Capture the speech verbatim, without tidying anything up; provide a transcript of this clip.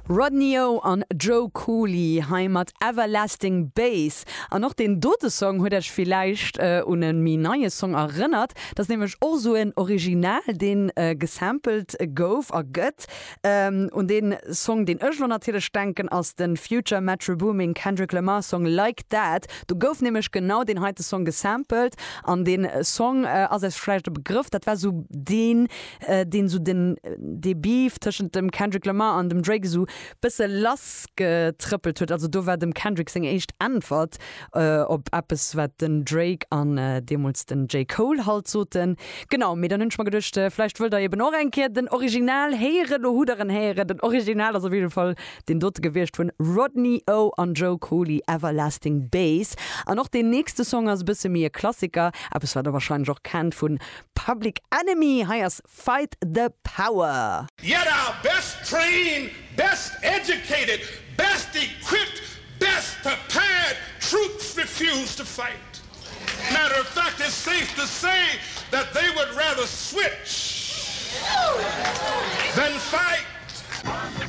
Rodney O an Joe Cooley hei mat Everlasting Bass. An och deen dote Song huet iech villäicht un e méi neie Song erënnert. Dat ass nämlech och sou en Original, deen gesampelt gouf a gëtt. Un deen Song, deen ech lo natierlech denken, ass de Future, Metro Boomin, Kendrick Lamar Song Like That. Do gouf nämlech genau deen heite Song gesampelt. An deen Song ass iech vläicht e Begrëff, dat war sou deen, deen sou den dee Beef tëschent dem Kendrick Lamar an dem Drake sou bësse lass getrëppelt huet. Also do war dem Kendrick seng éischt Äntwert op eppes wat den Drake an deemools den J. Cole halt soten. Genau, mee dann hunn ech mer geduecht, vläicht wëllt der eben och eng Kéier den Original héieren. Lo hutt der en héieren. Den Original ass op jidde Fall deen dote gewiescht vun Rodney O an Joe Cooley, Everlasting Bass. An och deen nächste Song ass e bësse méi e Klassiker, eppes wat der warscheinlech och kennt vun Public Enemy. Hei ass Fight the Power. Yet our best trained, best educated, best equipped, best prepared troops refuse to fight. Matter of fact, it's safe to say that they would rather switch than fight.